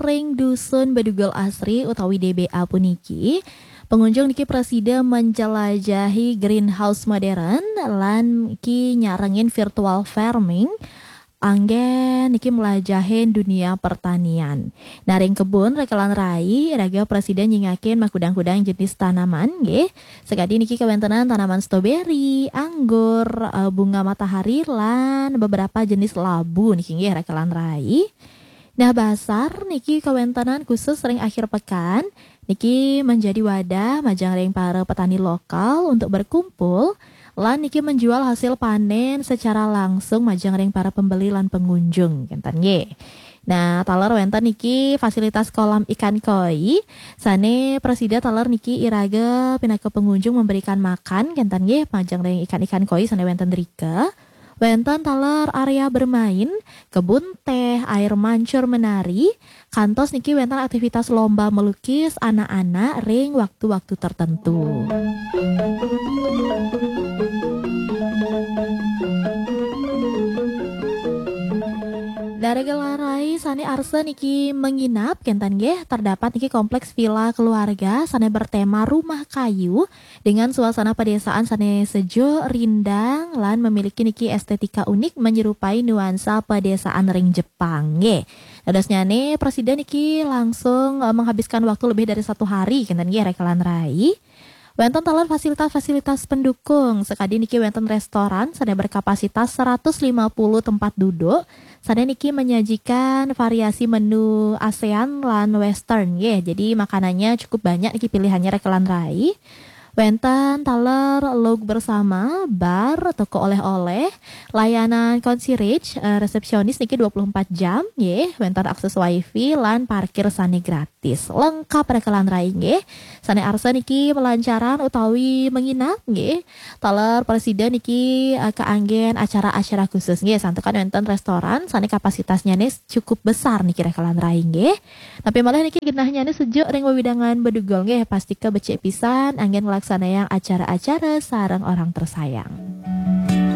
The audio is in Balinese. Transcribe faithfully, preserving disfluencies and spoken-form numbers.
ring Dusun Bedugul Asri utawi D B A puniki, pengunjung niki prasida menjelajahi greenhouse modern lan ki nyarengin virtual farming, anggen niki melajahin dunia pertanian. Nah, ring kebun rekelan rai, iraga prasida nyingakin makudang-kudang jenis tanaman, nggih. Sakadi niki kawentenan tanaman stroberi, anggur, eh, bunga matahari, lan beberapa jenis labu niki, nggih, rekelan rai. Nah, basar niki kawentenan khusus ring akhir pekan, niki menjadi wadah majeng ring para petani lokal untuk berkumpul, lan niki menjual hasil panen secara langsung majeng ring para pembeli lan pengunjung, kenten nggih. Nah, taler wenten niki fasilitas kolam ikan koi, sane prasida taler niki iraga pinaka pengunjung memberikan makan, kenten nggih, majeng ring ikan-ikan koi sane wenten drika. Wenten taler area bermain, kebun teh, air mancur menari, kantos niki wenten aktivitas lomba melukis anak-anak ring waktu-waktu tertentu. Dari gelarai sane arsa niki menginap, kenten nggih, terdapat niki kompleks villa keluarga sane bertema rumah kayu dengan suasana pedesaan sane sejuk, rindang, lan memiliki niki estetika unik menyerupai nuansa pedesaan ring Jepang, nggih. Dadosnyane prasida niki langsung, eh, menghabiskan waktu lebih dari satu hari, kenten nggih, rekelan rai. Wenten taler fasilitas-fasilitas pendukung, sakadi niki wenten restoran sane berkapasitas seratus lima puluh tempat duduk, sane niki menyajikan variasi menu ASEAN lan Western, nggih. Jadi makanannya cukup banyak niki pilihannya, rekelan rai. Wenten taler lauk bersama, bar, toko oleh-oleh, layanan concierge, eh, resepsionis niki dua puluh empat jam, nggih. Wenten akses wifi lan parkir sane gratis. Lengkap, rekelan rai, nggih. Sane arsa niki melancaran utawi menginap, nggih. Taler prasida niki, eh, kaanggen acara-acara khusus, nggih. Santukan wenten restoran sane kapasitasnyane cukup besar niki, rekelan rai, nggih. Napi malih niki genahnyane sejuk ring wewidangan Bedugul, nggih. Pastika becik pisan anggen nglaksanayang acara-acara sareng orang tersayang.